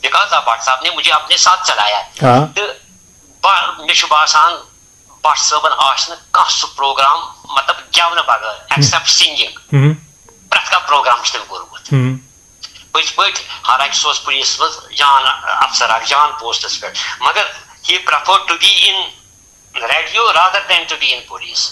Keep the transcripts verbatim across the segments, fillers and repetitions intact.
Because of Bhat صاحب نے مجھے اپنے ساتھ چلایا۔ ہاں۔ تہٕ با- مےٚ چھُ باسان بٹ صٲبن آسہِ نہٕ کانٛہہ سُہ پروگرام، مطلب، گٮ۪ونہٕ بغٲر، ایکسپٹ سنگنگ۔ ہم۔ پرٛٮ۪تھ کانٛہہ پروگرام چھُ تٔمۍ کوٚرمُت۔ ہم۔ پٔزۍ پٲٹھۍ، حالانکہ سُہ اوس پُلیٖسَس منٛز جان افسر اکھ، جان پوسٹس پٮ۪ٹھ، مگر he prefer to be in radio rather than to be in police۔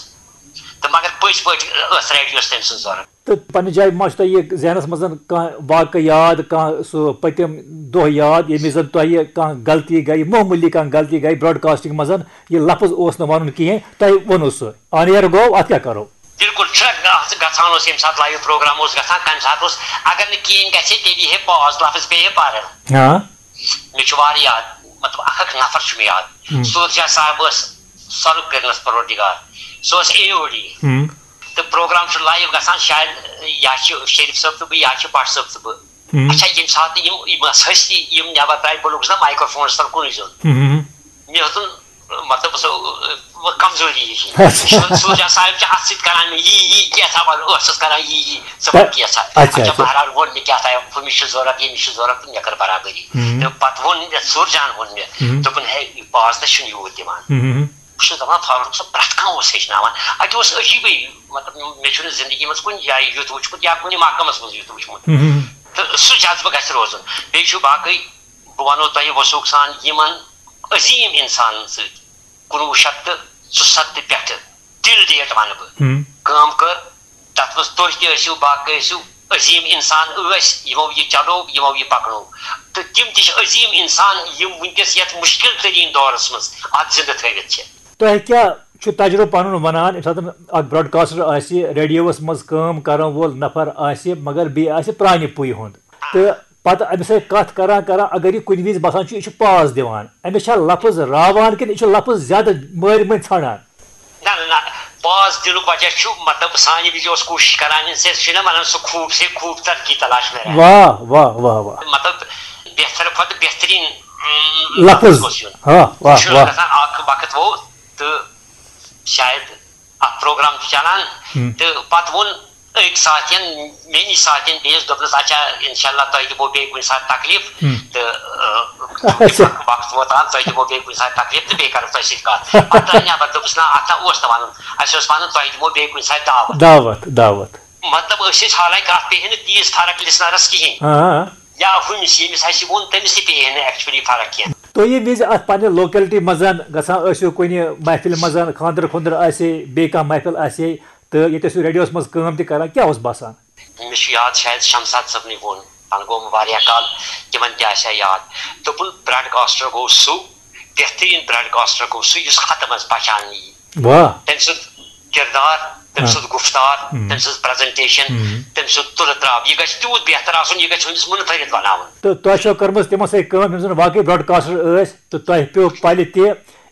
تہٕ مگر پٔزۍ پٲٹھۍ ٲس ریڈیوس تٔمۍ سٕنٛز ضروٗرت۔ تہٕ پننہِ جایہِ ما چھُ تۄہہِ یہِ ذہنس منٛز کانٛہہ واقعہٕ یاد، کانٛہہ سُہ پٔتِم دۄہ یاد، ییٚمہِ وِزِ زن تۄہہِ کانٛہہ غلطی گٔے، معموٗلی کانٛہہ غلطی گٔے براڈکاسٹنگ منٛز، یہِ لفظ اوس نہٕ ونُن کِہیٖنۍ، تۄہہِ ووٚنوُ سُہ، آن ایئر گوٚو، اتھ کیٛاہ کرو؟ بِلکُل چھُنہ، اتھ گژھان اوس، ییٚمہِ ساتہٕ لایو پروگرام اوس گژھان، تمہِ ساتہٕ اوس، اگر نہٕ کِہیٖنۍ گژھِ ہے، تیٚلہِ یی ہے پاز، لفظ پیٚیہِ ہے پرُن۔ ہاں۔ مےٚ چھُ واریاہ یاد، مطلب، اکھ اکھ نفر چھُ مےٚ یاد۔ ہم۔ صوٗرت شاہ صاحب ٲس سۄلہٕ کٔرنَس پروردگار، سُہ اوس اے او ڈی۔ ہم۔ تہٕ پروگرام چھُ لایو گژھان، شاید یا چھِ شریف صٲب تہٕ بہٕ، یا چھِ بٹ صٲب تہٕ بہٕ۔ ہم۔ اچھا، ییٚمہِ ساتہٕ یِم، یِم ٲس ہستی، یِم نٮ۪بر درٛاے، بہٕ لوٚگُس نہ مایکروفونس تل کُنُے زوٚن۔ ہم۔ مےٚ ہیوٚتُن، مطلب، سُہ کمزوری ہِش۔ اچھا۔ سُہ، سُہ چھُ آسان، یِم چھِ اَتھٕ سۭتۍ کران مےٚ یی، یی، کینٛژھا وَنہٕ، ٲسَس کران یی، یی، ژٕ وَن کینٛژھا۔ اچھا، اچھا، اچھا۔ بہرحال ووٚن مےٚ کیٛاہ تام، ہُمِس چھُ ضوٚرَتھ، ییٚمِس چھُ ضوٚرَتھ، تہٕ مےٚ کٔر برابری۔ ہم۔ تہٕ پَتہٕ ووٚن مےٚ، سُر جان ووٚن مےٚ، ہم۔ دوٚپُن، ہے، یہِ پاز تہِ چھُنہٕ یوٗت دِوان۔ ہم۔ بہٕ چھُس دَپان، فاروق صٲب، پرٛٮ۪تھ کانٛہہ اوس ہیٚچھناوان۔ اَتہِ اوس عجیٖبٕے، مطلب، مےٚ چھُنہٕ زِندگی منٛز کُنہِ جایہِ یُتھ وٕچھمُت یا کُنہِ محکمَس منٛز یُتھ وٕچھمُت۔ ہم۔ تہٕ سُہ جذبہٕ گژھِ روزُن۔ بیٚیہِ چھُ باقٕے، بہٕ وَنو تۄہہِ وثوق سان، یِمَن عظیٖم اِنسانَن سۭتۍ کُنوُہ شیٚتھ تہٕ ژُسَتتھ پٮ۪ٹھٕ ٹِل ڈیٹ وَنہٕ بہٕ، ہم۔ کٲم کٔر، تَتھ منٛز تُہۍ تہِ ٲسِو، باقٕے ٲسِو، عظیٖم اِنسان ٲسۍ، یِمو یہِ چلو، یِمو یہِ پَکنو۔ تہٕ تِم تہِ چھِ عظیٖم اِنسان، یِم وٕنکیٚس یَتھ مُشکِل تریٖن دورَس منٛز اَتھ زِندٕ تھٲوِتھ چھِ۔ تۄہہِ کیٛاہ چھُ تجربہٕ پَنُن وَنان، ییٚمہِ ساتہٕ اَکھ براڈکاسٹر آسہِ، ریڈیوَس منٛز کٲم کَرَن وول نفر آسہِ، مگر بیٚیہِ آسہِ پرٛانہِ پُیہِ ہُنٛد، تہٕ پتہٕ أمِس سۭتۍ کتھ کران کران، اگر یہِ کُنہِ وِزِ باسان چھُ، یہِ چھُ پاز دِوان، أمِس چھا لفظ راوان کِنہٕ یہِ چھُ لفظ زیادٕ مٲرۍ مٔنٛدۍ ژھانڈان؟ نہ، نہ، نہ، پاز دِنُک وجہ چھُ، مطلب، سانہِ وِزِ اوس کوٗشِش کران، أمِس ٲسۍ چھِنہ وَنان، سُہ خوٗب سے خوٗب تر کی تلاش میں رہتا۔ واہ، واہ، واہ، واہ۔ مطلب، بہتر کھۄتہٕ بہترین، اۭں، لفظ۔ لفظ گوٚژھ یُن۔ ہاں، واہ، یہِ چھُ واہ۔ گژھان، اکھ وقت ووت تہٕ شاید اکھ پروگرام چھُ چلان، ہم۔ تہٕ پتہٕ ووٚن أکۍ ساتھین، مےٚ نِش ساتھین بیٚیِس، دوٚپنَس، "اچھا، انشاءاللہ تۄہہِ دِمو بیٚیہِ کُنہِ ساتہٕ تکلیف، ہم۔ تہٕ، آ، اچھا۔ وقت ووت آز، تۄہہِ دِمو بیٚیہِ کُنہِ ساتہٕ تکلیف تہٕ بیٚیہِ کرو تۄہہِ سۭتۍ کَتھ۔" پتہٕ درٛاے نٮ۪بر، دوٚپُس، "نہ، اتھ نہ اوس نہٕ وَنُن، اَسہِ اوس وَنُن تۄہہِ دِمو بیٚیہِ کُنہِ ساتہٕ دعوت۔" دعوت، دعوت۔ مطلب، أسۍ ٲسۍ، حالانکہ اتھ پیٚیہِ ہے نہٕ تیٖژ فرق لسنرس کِہیٖنۍ۔ آ۔ یا ہُمِس، ییٚمِس اَسہِ ووٚن، تٔمِس تہِ پیٚیہِ ہے نہٕ actually فرق کینٛہہ۔ تُہۍ ییٚمہِ وِزِ اتھ پننہِ locality منٛز گژھان ٲسِو، کُنہِ محفلہِ منٛز، خانٛدر خُنٛدر آسہِ، بیٚیہِ کانٛہہ محفل آسہِ، تہٕ ییٚتہِ ٲسِو ریڈیوس منٛز کٲم تہِ کران، کیٛاہ اوس باسان؟ مےٚ چھُ یاد، شاید شمشاد صٲبنٕے ووٚن، تَنہٕ گوٚو وۄنۍ واریاہ کال، تِمن تہِ آسہِ ہا یاد۔ دوٚپُن، براڈکاسٹر گوٚو سُہ، بہتریٖن براڈکاسٹر گوٚو سُہ، یُس ختم آسہِ پہچاننہٕ یی۔ واہ۔ تٔمۍ سُنٛد کردار، تٔمۍ ہاں۔ سُنٛد گُفتار، ہم۔ تٔمۍ سٕنٛز پریزنٹیشن، ہم۔ تٔمۍ سُنٛد تُلہٕ ترٛاو، یہِ گژھِ تیوٗت بہتر آسُن، یہِ گژھِ ہُمِس مُنفرد بناوُن۔ تہٕ تۄہہِ چھو کٔرمٕژ تِمن سۭتۍ کٲم، یِم زن واقعی براڈکاسٹر ٲسۍ، تہٕ تۄہہِ پیوٚو پلہِ تہِ،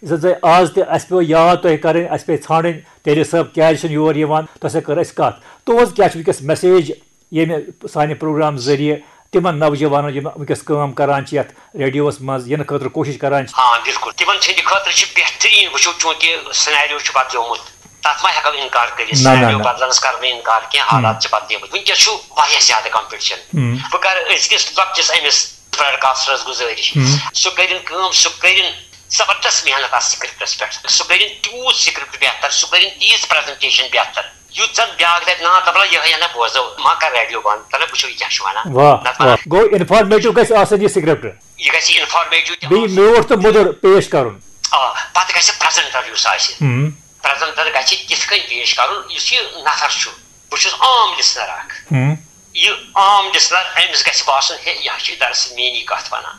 یُس زن آز تہِ اَسہِ پیوٚو یاد تۄہہِ کرٕنۍ، اَسہِ پیٚیہِ ژھانڈٕنۍ، تیلی صٲب کیازِ چھُنہٕ یور یِوان، تۄہہِ سۭتۍ کٔر اَسہِ کتھ۔ تُہنٛز کیٛاہ چھِ وٕنکیٚس میسیج ییٚمہِ سانہِ پروگرام ذٔریعہٕ تِمن نوجوانن، یِم وٕنکیٚس کٲم کران چھِ یتھ ریڈیوس منٛز، یِنہٕ خٲطرٕ کوٗشش کران چھِ؟ آ، بِلکُل۔ تِمن ہٕنٛدِ خٲطرٕ چھُ بہتریٖن۔ وٕچھِو، چوٗنٛکہِ سیناریو چھُ بدلیومُت، تتھ ما ہٮ۪کو اِنکار کٔرِتھ؟ نہ، نہ، سیناریو نہ۔ بدلنس کرٕ بہٕ اِنکار کینٛہہ، ہم۔ حالات چھِ بدلیمٕتۍ۔ وٕنکیٚس چھُ واریاہ زیادٕ کمپٹیشن۔ ہم۔ بہٕ کرٕ أزکِس لۄکٹِس أمِس براڈکاسٹرس گُزٲرِش، ہم۔ سُہ کٔرِن کٲم، سُہ کٔرِن زبردست محنت اتھ سکرپٹس پٮ۪ٹھ، سُہ کٔرِن تیوٗت سکرپٹ بہتر، سُہ کٔرِن تیٖژ پریزنٹیشن بہتر، یُتھ زن بیٛاکھ دپہِ، "نا، دپان یِہوٚے ہنا بوزو، ما کر ریڈیو بنٛد، دپان وٕچھو یہِ کیٛاہ چھُ ونان۔" واہ، نتہٕ واہ۔ ونان گوٚو انفارمیٹو گژھِ آسٕنۍ یہِ سکرپٹ۔ یہِ گژھِ انفارمیٹو تہِ بیٚیہِ آسُن۔ میوٗٹھ تہٕ مۄدُر پیش کرُن۔ آ، پتہٕ گژھِ پریزنٹر یُس آسہِ، ہم۔ پریزنٹر گژھِ تِتھ کٔنۍ پیش کرُن، یُس یہِ نفر چھُ۔ بہٕ چھُس عام لسنر اکھ۔ ہم۔ یہِ عام لسنر، أمِس گژھِ باسُن، ہے، یہِ ہا چھُ دراصل میٛٲنی کتھ ونان۔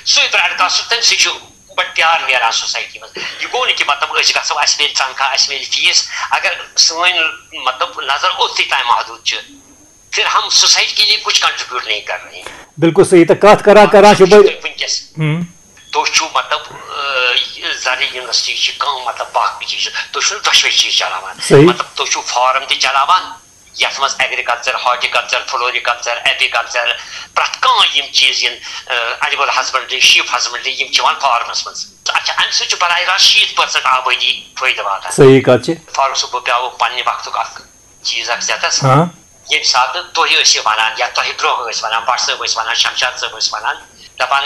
سُے براڈکاسٹ، تَمہِ سۭتۍ چھُ بَڑٕ پیار نیران سوسایٹی منٛز۔ یہِ گوٚو نہٕ کہِ مطلب أسۍ گژھو، اَسہِ میلہِ تنخواہ، اَسہِ میلہِ فیس۔ اگر سٲنۍ مطلب نظر اوٚتھٕے تام محدوٗد چھِ، پھر ہم سوسائٹی کے لیے کچھ کنٹریبیوٹ نہیں کر رہے ہیں۔ بِلکُل صحیح۔ تہٕ کَتھ کران کران چھِ بہٕ وٕنکیٚس۔ ہم۔ تُہۍ چھِو مطلب، آ، یہِ زرٕچ انڈسٹری چھِ کٲم، مطلب باقٕے چیٖز چھِ، تُہۍ چھِو دۄشوے چیٖز چلاوان۔ صحیح۔ مطلب تُہۍ چھِو فارم تہِ چلاوان، یتھ منٛز ایگریکلچر، ہارٹیکلچر، فلوریکلچر، ایپیکلچر، پرٛٮ۪تھ کانٛہہ یِم چیٖز یِن، آ، اینیمل ہسبنڈری، شیپ ہسبنڈری، یِم چھِ یِوان فارمس منٛز۔ اچھا، امہِ سۭتۍ چھُ براہ راست شیٖتھ پٔرسنٹ آبٲدی فٲیدٕ واتان۔ صحیح کتھ چھِ۔ فاروق صٲب، بہٕ پیٛاوٕ پننہِ وقتُک اکھ چیٖز اکھ ژےٚ تس۔ ہاں۔ ییٚمہِ ساتہٕ تُہۍ ٲسِو ونان یا تۄہہِ برونٛہہ ٲسۍ ونان، بٹ صٲب ٲسۍ ونان، شمشاد صٲب ٲسۍ ونان، دپان،